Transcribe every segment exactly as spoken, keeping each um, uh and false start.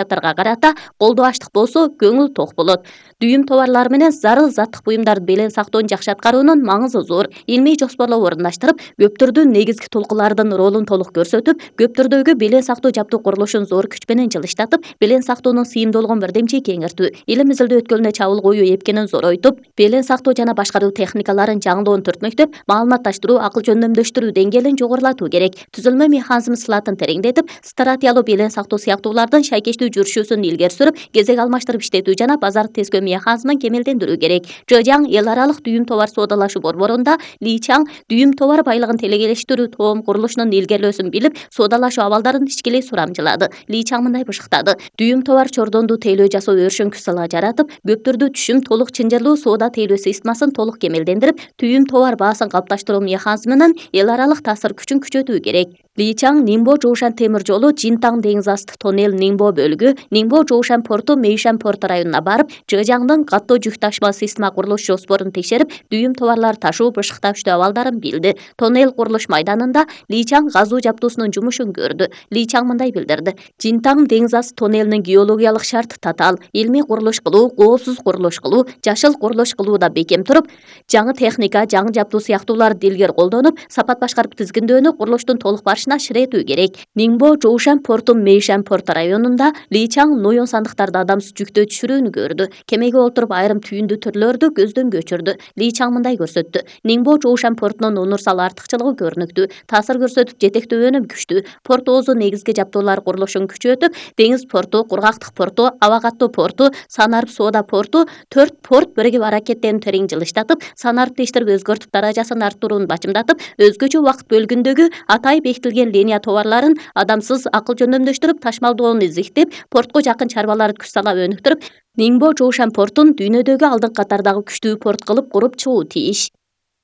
каражаттарга карата колдоо аштык болсо көңүл ток болот. Дүйүм товарлар менен зарыл заттык буюмдарды белең сактоонун жакшы аткаруунун маңызы зор. Илмий жоспорлоо орундаштырып, көптөрдүн негизги толкулардын ролун толук көрсөтүп, көптөрдөгү белең сактоо жаптуу курулушун зор күч менен жылыштатып, белең сактоонун сыйымдуулугун бирдемче кеңиртүү, илим изилдөө өткөлүнө чабуул коюу эпкенин зоройтуп, белең сактоо жана башкаруу техникаларын жаңылоонун түртмөктөп, маалыматташтыруу, акыл жөндөмдөштүрүү деңгээлин жогорулатуу керек. Түзүлмө механизм сылатын тереңдетип, стратиялуу белең сактоо сыяктуулардын шайкештүү жүрүшүүсүн илгери сүрүп, кезек алмаштырып иштетүү жана базарды тескөө механизмин кемелдендирүү керек. Жожаң эл аралык дүйүм товар соодалашуу борборунда Ли Чаң дүйүм товар байлыгын телекелештирүү тоом курулушунун илгерилөөсүн билип, соодалашуу абалдарын ичкилей сурамжылады. Ли Чаң мындай бышыктады: дүйүм товар чордондуу тейлөө жасоо өршөңкү сала жаратып, көптөрдү түшүм толук чынжырлуу соода тейлөө системасын толук кемелдендирип, дүйүм товар баасын калыпташтыруу механизминин эл аралык таасир күчүн күчөтүү керек. Ли Чаң Нingbo Жоушан темир жолу, Жинтаң деңиз асты тоннел Ningbo бөлүгү, Ningbo Жоушан порту Мэйшан порт районуна барып, Жожаңдын каттоо жүк ташма система курулуш жоспорун текшерип, дүйүм товарлар ташуу, бышыкташтоо абалдарын билди. Тоннел курулуш майданында Ли Чаң газуу жаптуусунун жумушун көрдү. Ли Чаң мындай билдирди: Жинтаң деңиз асты тоннелинин геологиялык шарты татаал, илмий курулуш кылуу, коопсуз курулуш кылуу, жашыл курулуш кылууда бекем туруп, жаңы техника, жаңы жаптуу сыяктууларды илгери колдонуп, сапат башкарып тизгиндөөнү курулуштун толук барышына ширетүү керек. Ningbo Жоушан порту Мэйшан порт районунда Ли Чаң ноён сандыктарды адамсыз жүктөө түшүрүүнү көрдү. Кемеге олтуруп айрым түйүндүү түрлөрдү көздөн көчүрдү. Ли Чаң мындай көрсөттү: Ningbo Жоушан портунун унурсал артыкчылыгы көрүнүктүү, таасир көрсөтүп жетектөөнү күчтүү. Порт оозу негизги жаптуулар курулушун күчөтүп, деңиз порту, кургактык порту, аба каттоо порту, санарып соода порту, төрт порт биригип аракеттенип терең жылыштатып, санарып тештирип өзгөртүп даражасын арттырууну бачымдатып, өзгөчө убакыт бөлүгүндөгү атайып бекитилген линия товарларын адамсыз акыл жөндөмдөштүрүп, ташмалдоону изиктеп, портко жакын чарбаларды күч сала өнүктүрүп, Ningbo Жоушан портун дүйнөдөгү алдыңкы катардагы күчтүү порт кылып куруп чыгуу тийиш.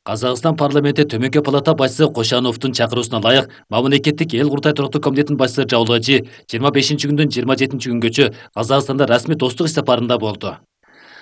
Казакстан парламенти Төмөнкү палата башчысы Кошановдун чакыруусуна ылайык мамлекеттик эл курултай туруктуу комитетинин башчысы Жаулажи жыйырма бешинчи күндөн жыйырма жетинчи күнгөчө Казакстанда расмий достук иш сапарында болду.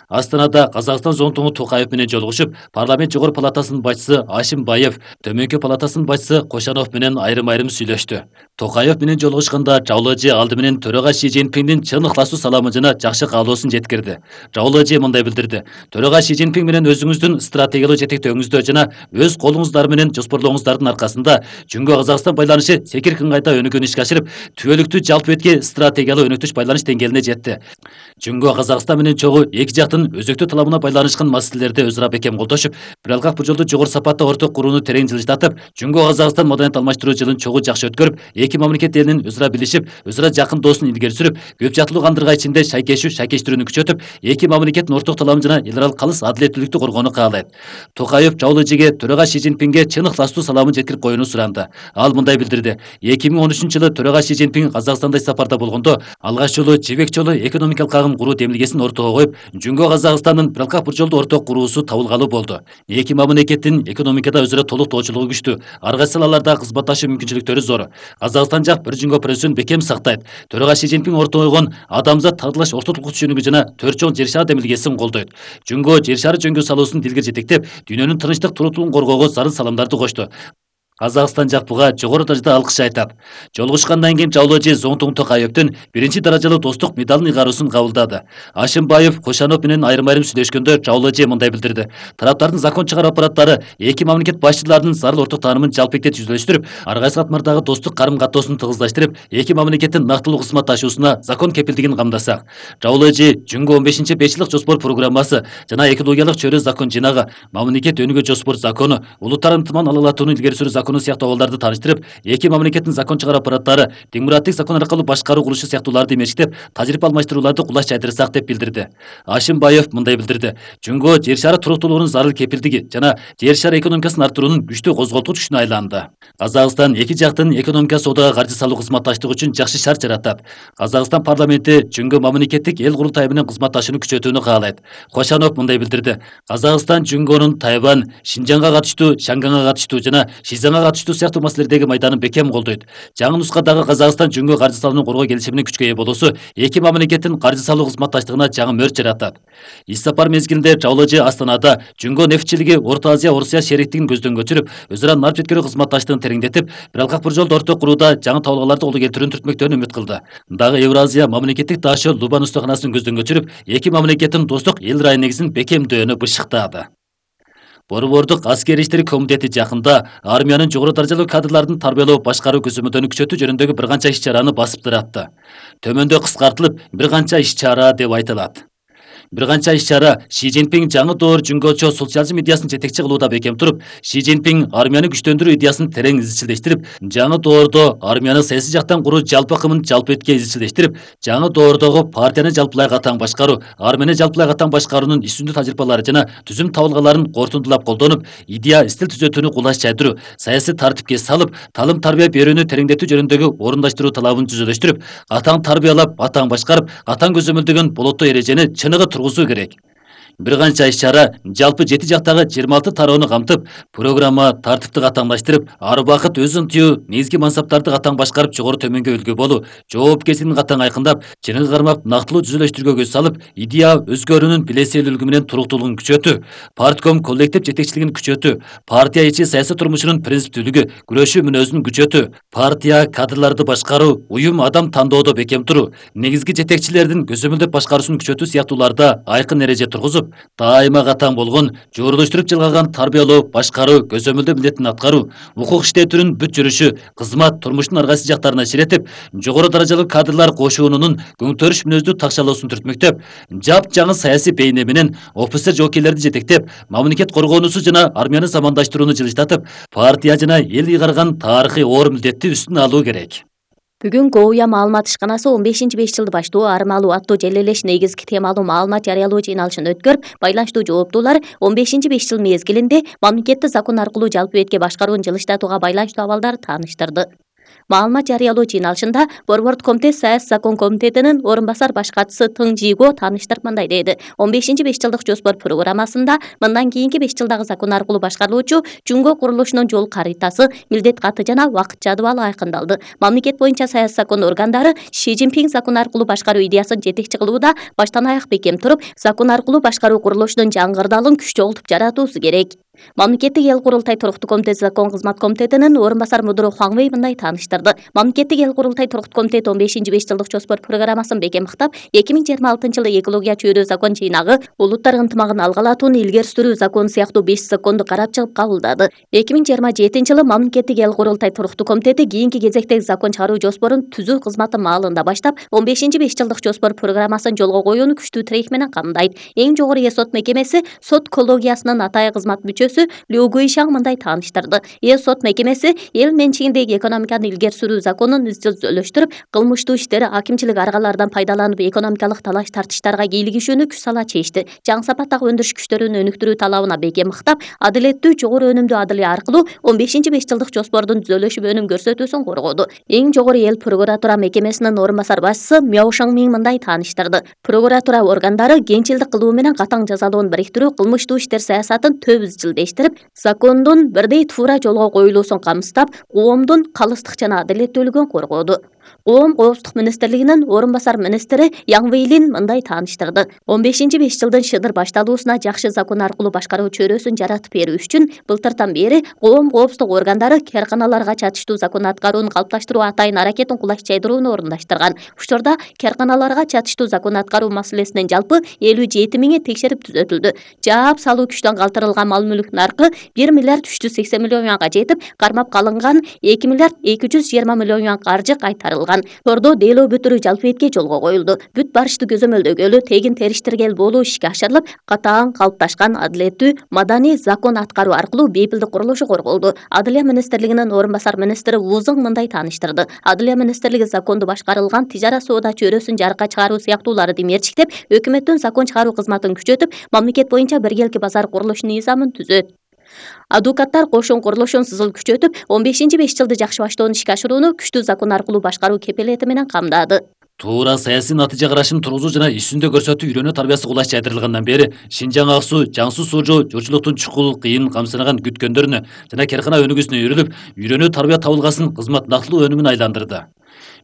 Астанада Казакстан зонтугу Токаев менен жолугушуп, парламент жогорку палатасынын башчысы Ашимбаев, Төмөнкү палатасынын башчысы Кошанов менен айрым-айрым сүйлөштү. Токаев менен жолугушканда Жаулажи алды менен төрага Си Цзиньпиндин чын ыхластуу саламы жана жакшы каалоосун жеткирди. Жаулажи мындай билдирди: төрага Си Цзиньпин менен өзүңүздүн стратегиялык жетектөөңүздө жана өз колуңуздар менен жоспорлооңуздардын аркасында Жүнгө Казакстан байланышы секиркин кайта өнүгүүнү ишке ашырып, түбөлүктүү жалпы бетке стратегиялык өнүктүш байланыш деңгээлине жетти. Жүнгө Казакстан менен чогуу эки жактын өзөктүү талабына байланышкан маселелерди өзара бекем колдошуп, биралгак бул жолду жогору сапатта орток курууну терең жылыштатып, Жүнгө Казакстан маданият алмаштыруу жылын чогуу жакшы өткөрүп, эки мамлекет элинин өзара билишип, өзара жакын доосун илгери сүрүп, көп жактылуу кандыргай ичинде шайкешүү, шайкештирүүнү күчөтүп, эки мамлекеттин орток талабын жана эл аралык калыс адилеттүүлүктү коргоону каалайт. Токаев Жаулажиге төрага Си Цзиньпинге чын ыхластуу саламын жеткирип коюуну суранды. Ал мындай билдирди: эки миң он үчүнчү жылы төрага Си Цзиньпин Казакстанда сапарда болгондо, алгач жолу жибек жолу экономикалык агым куруу демилгесин ортого коюп, Жүнгө Казакстандын биралгак бир жолду орток куруусу табылгалуу болду. Эки мамлекеттин экономикада өзара толук тоочулугу күчтүү, ар кайсы салаларда кызматташуу мүмкүнчүлүктөрү зор. Казакстан жак бир Жүнгө принцибин бекем сактайт. Төрага Си Цзиньпин ортого койгон адамзат тагдырлаш ортодулук түшүнүгү жана төрт чоң жер шары демилгесин колдойт. Жүнгө жер шары жөнгө салуусун дилгер жетектеп, дүйнөнүн тынчтык туруктуулугун коргоого зарыл саламдарды кошту. Казакстан жак буга жогору даражада алкыш айтап. Жолугушкандан кийин Жаулажи Зонтуң Токаевдин биринчи даражалуу достук медалын ыйгаруусун кабылдады. Ашимбаев Кошанов менен айрым-айрым сүйлөшкөндө Жаулажи мындай билдирди: тараптардын закон чыгаруу аппараттары эки мамлекет башчыларынын зарыл орток таанымын жалпы бетте жүзөлдөштүрүп, ар кайсы катмардагы достук карым-катоосун тыгыздаштырып, эки мамлекеттин нактылуу кызматташуусуна закон кепилдигин камдасак. Жаулажи Жүнгө он бешинчи беш жылдык жоспор программасы жана экологиялык чөйрө закон жинагы, мамлекет өнүгүү жоспор закону, улуттар ынтымагын алгылатууну илгери сүрүү закону сыяктуу абалдарды тааныштырып, эки мамлекеттин закон чыгаруу аппараттары тең мураттык закон аркылуу башкаруу курулушу сыяктууларды эмештеп, тажрыйба алмаштырууларды кулаш жайдырсак деп билдирди. Ашимбаев мындай билдирди: Жүнгө жер шары туруктуулугунун зарыл кепилдиги жана жер шары экономикасын арттыруунун күчтүү козголтуу күчүнө айланды. Казакстан эки жактын экономика соодага каржы салуу кызматташтыгы үчүн жакшы шарт жаратат. Казакстан парламенти Жүнгө мамлекеттик эл курултайы менен кызматташууну күчөтүүнү каалайт. Кошанов мындай билдирди: Казакстан Жүнгөнүн Тайвань, Шинжаңга катыштуу, Шанганга катыштуу жана Шизаңга жаңа катыштуу сыяктуу маселелердеги майданын бекем колдойт. Жаңы нускадагы Казакстан Жөнгө каржы салууну коргоо келишиминин күчкө ээ болуусу эки мамлекеттин каржы салуу кызматташтыгына жаңы мөр жаратат. Ис сапар мезгилинде Жаулажы Астанада Жөнгө нефтчилиги Орто Азия Орусия шериктигин көздөн көчүрүп, өзара нарп жеткирүү кызматташтыгын тереңдетип, бир алкак бир жолду орток курууда жаңы табылгаларды колдо келтирүүнү түртмөктөрүн үмүт кылды. Дагы Евразия мамлекеттик дашы Лубан ustaханасын көздөн көчүрүп, эки мамлекеттин достук эл райы негизин бекемдөөнү бышыктады. Борбордук аскер иштери комитети жакында армиянын жогору даражалуу кадрлардын тарбиялоо башкаруу көзөмөлдөрүн күчөтүү жөнүндөгү бир канча иш-чараны басып таратты. Төмөндө кыскартылып бир канча иш-чара деп айтылат. Бир канча иш-чара Ши Цзиньпин жаңы доор жөнгөчө социализм идеясын жетекчи кылууда бекем туруп, Ши Цзиньпин армияны күчтөндүрүү идеясын терең изчилдештирип, жаңы доордо армияны саясий жактан куруу жалпы акымын жалпы этке изчилдештирип, жаңы доордогу партияны жалпылай катаң башкаруу, армияны жалпылай катаң башкаруунун иш-жүзүндүү тажрыйбалары жана түзүм табылгаларын кортундулап колдонуп, идея стил түзөтүүнү кулаш чайдыруу, саясий тартипке салып, талым тарбия берүүнү тереңдетүү жөнүндөгү орундаштыруу талабын түзөлөштүрүп, катаң тарбиялап, катаң башкарып, катаң көзөмөлдөгөн болоттуу эрежени чыныгы тургузуу керек. Бир канча иш-чара жалпы жети жактагы жыйырма алты тароону камтып, программа тартипти катаңдаштырып, ар убакыт өз ынтыюу, негизги мансаптарды катаң башкарып, жогору төмөнгө үлгү болуу, жоопкерчилигин катаң айкындап, чыныгы кармап, нактылуу түзүлүштүрүүгө көз салып, идея өзгөрүүнүн билесел үлгү менен туруктуулугун күчөтүү, партком коллектив жетекчилигин күчөтүү, партия ичи саясий турмушунун принциптүүлүгү, күрөшүү мүнөзүн күчөтүү, партия кадрларды башкаруу, уюм адам тандоодо бекем туруу, негизги жетекчилердин көзөмөлдөп башкаруусун күчөтүү сыяктууларда айкын эреже тургузуп, дайыма катаң болгон, жорулуштуруп жылгаган тарбиялоо, башкаруу, көзөмөлдөө милдетин аткаруу, укук иштетүүнүн бүт жүрүшү, кызмат, турмуштун ар кайсы жактарына ширетип, жогору даражалуу кадрлар кошуунунун көңтөрүш мүнөздүү такшалоосун түртмөктөп, жап жаңы саясий бейне менен офицер жоокейлерди жетектеп, мамлекет коргоонусу жана армияны замандаштырууну жылыштатып, партия жана эл ыйгарган тарыхый оор милдетти үстүнө алуу керек. Бүгүн Гоуя маалымат ишканасы он бешинчи беш жылды баштоо армалуу аттуу желелеш негизги темалуу маалымат жарыялоо жыйналышын өткөрүп, байланыштуу жооптуулар он бешинчи беш жыл мезгилинде мамлекетти закон аркылуу жалпы этке башкаруун жылыштатууга байланыштуу абалдар тааныштырды. Маалымат жарыялоо жыйналышында Борбордук комитет Саясий закон комитетинин орун басар баш катчысы Тың Жиго тааныштырып мындай деди. он бешинчи беш жылдык жоспор программасында мындан кийинки беш жылдагы закон аркылуу башкарылуучу Жөнгө курулушунун жол каритасы, милдет каты жана убакыт жадыбалы айкындалды. Мамлекет боюнча саясий закон органдары Ши Цзиньпин закон аркылуу башкаруу идеясын жетекчи кылууда баштан аяк бекем туруп, закон аркылуу башкаруу курулушунун жаңы кырдаалын күч жогултуп жаратуусу керек. Мамлекеттик эл курултай туруктуу комитет закон кызмат комитетинин орун басар мудуру Хуан Вэй мындай тааныштырды. Мамлекеттик эл курултай туруктуу комитет он бешинчи беш жылдык жоспор программасын бекем ыктап, эки миң жыйырма алтынчы жылы экология чөйрө закон жыйнагы, улуттар ынтымагын алгалатууну илгери сүрүү закон сыяктуу беш законду карап чыгып кабылдады. эки миң жыйырма жетинчи жылы мамлекеттик эл курултай туруктуу комитети кийинки кезектеги закон чыгаруу жоспорун түзүү кызматы маалында баштап, он бешинчи беш жылдык жоспор программасын жолго коюуну күчтүү тирек менен камдайт. Эң жогору э сот мекемеси сот коллегиясынын атайын кызмат мүчөсү Лю Гуишаң мындай тааныштырды. Э сот мекемеси эл менчигиндеги экономиканы илгери сүрүү законун изчил түзөлүштүрүп, кылмыштуу иштери акимчилик аргалардан пайдаланып экономикалык талаш тартыштарга кийлигишүүнү күч сала чечти. Жаңы сапаттагы өндүрүш күчтөрүн өнүктүрүү талабына бекем ыктап, адилеттүү жогору өнүмдүү адылия аркылуу он бешинчи беш жылдык жоспордун түзөлүшүп өнүм көрсөтүүсүн коргоду. Эң жогору эл прокуратура мекемесинин орун басар башчысы Мяо Шаңмин мындай тааныштырды. Прокуратура органдары кеңчилдик кылуу менен катаң жазалоон бириктирүү, кылмыштуу иштер саясатын төп изчилдештирип, закондун бирдей туура жолго коюлуусун камсыздап, коомдун калыстык жана адилеттүүлүгүн коргоду. Коом коопсуздук министрлигинин орун басар министри Яң Вейлин мындай тааныштырды. он бешинчи беш жылдын шыдыр башталуусуна жакшы закон аркылуу башкаруу чөйрөсүн жаратып берүү үчүн былтыртан бери коом коопсуздук органдары кээрканаларга чатыштуу закон аткаруун калыпташтыруу атайын аракетин кулаш чайдырууну орундаштырган. Учурда кээрканаларга чатыштуу закон аткаруу маселесинин жалпы элүү жети миңи текшерип түзөтүлдү. Жаап салуу күчтөн калтырылган мал мүлк наркы бир миллиард үч жүз сексен миллион юанга жетип, кармап калынган эки миллиард эки жүз жыйырма миллион юан каржы кайтарылган. Тордо дело бүтүрүү жалпы этке жолго коюлду. Бүт барышты көзөмөлдөгөлү, тегин териштиргел болуу ишке ашырылып, катаң калыпташкан адилеттүү, маданий закон аткаруу аркылуу бейпилдик курулушу корголду. Адылия министрлигинин орун басар министри Вузың мындай тааныштырды. Адылия министрлиги законду башкарылган тижара соода чөйрөсүн жарыкка чыгаруу сыяктууларды демерчиктеп, өкмөттүн закон чыгаруу кызматын күчөтүп, мамлекет боюнча биргелки базар курулуш низамын түзөт. Адвокаттар кошун курулушун сызыл күчөтүп, он бешинчи беш жылды жакшы баштоону ишке ашырууну күчтүү закон аркылуу башкаруу кепелети менен камдады. Туура саясий натыйжа карашын тургузуу жана иш жүзүндө көрсөтүү үйрөнүү тарбиясы кулаш жайдырылгандан бери Шинжаң Ак Суу, Жаңсу Суужу журчулуктун чукул, кыйын, камсынаган күткөндөрүнө жана керкана өнүгүүсүнө үйрүлүп, үйрөнүү тарбия табылгасын кызмат нактылуу өнүмүн айландырды.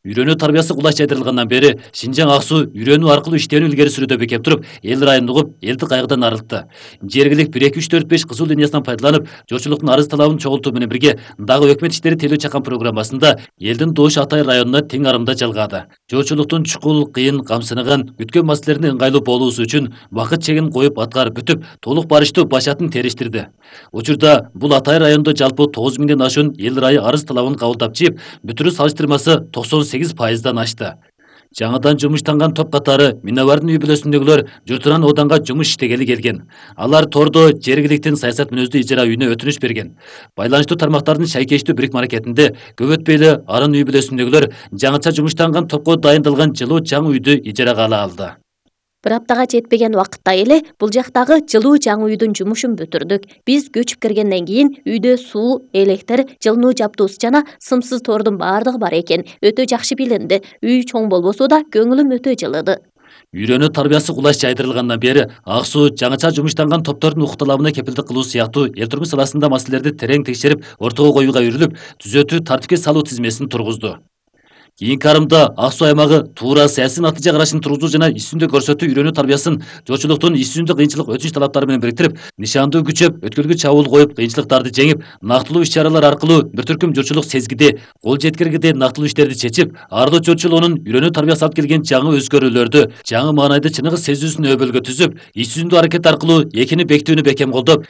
Үйрөнүү тарбиясы кулаш жайдырылгандан бери Шинжаң Ак Суу үйрөнүү аркылуу иштөөнү илгери сүрүүдө бекем туруп, эл райын угуп, элди кайгыдан арылтты. Жергилик бир эки үч төрт беш кызыл линиясынан пайдаланып, журчулуктун арыз талабын чогултуу менен бирге дагы өкмөт иштери телөө чакан программасында элдин Доош Атай районуна тең арымда жалгады. Журчулуктун чукул, кыйын, камсынаган, күткөн маселелерине ыңгайлуу болуусу үчүн убакыт чегин коюп аткарып бүтүп, толук барыштуу башатын териштирди. Учурда бул Атай районунда жалпы тогуз миңден ашуун эл райы арыз талабын кабылдап жип, бүтүрүү салыштырмасы токсон сегиз пайыздан ашты. Жаңыдан жумуштанган топ катары Минабардын үй бүлөсүндөгүлөр журтунан оданга жумуш иштегели келген. Алар тордо жергиликтин саясат мүнөздүү ижара үйүнө өтүнүч берген. Байланыштуу тармактардын шайкештүү бирикме аракетинде көп өтпөй арын үй бүлөсүндөгүлөр жаңыча жумуштанган топко дайындалган жылуу жаңы үйдү ижарага ала алды. Бир аптага жетпеген убакытта эле бул жактагы жылуу жаңы үйдүн жумушун бүтүрдүк. Биз көчүп киргенден кийин үйдө суу, электр, жылынуу жабдуусу жана сымсыз тордун баардыгы бар экен. Өтө жакшы билинди. Үй чоң болбосо да көңүлүм өтө жылыды. Үйрөнүү тарбиясы кулаш жайдырылгандан бери Ак Суу жаңыча жумуштанган топтордун укукталабына кепилдик кылуу сыяктуу эл турмуш саласында маселелерди терең текшерип, ортого коюуга үйрүлүп, түзөтүү тартипке салуу тизмесин тургузду. Кийинки арымда Ак Суу аймагы туура саясий натыйжа карашын тургузуу жана иш жүзүндө көрсөтүү үйрөнүү тарбиясын журчулуктун иш жүзүндө кыйынчылык өтүш талаптары менен бириктирип, нишандуу күчөп, өткөлгө чабуул коюп, кыйынчылыктарды жеңип, нактылуу иш-чаралар аркылуу бир түркүм журчулук сезгиде, кол жеткиргиде нактылуу иштерди чечип, ардуу журчулугунун үйрөнүү тарбиясы алып келген жаңы өзгөрүүлөрдү, жаңы маанайды чыныгы сезүүсүн өбөлгө түзүп, иш жүзүндүү аракет аркылуу экини бекитүүнү бекем колдоп,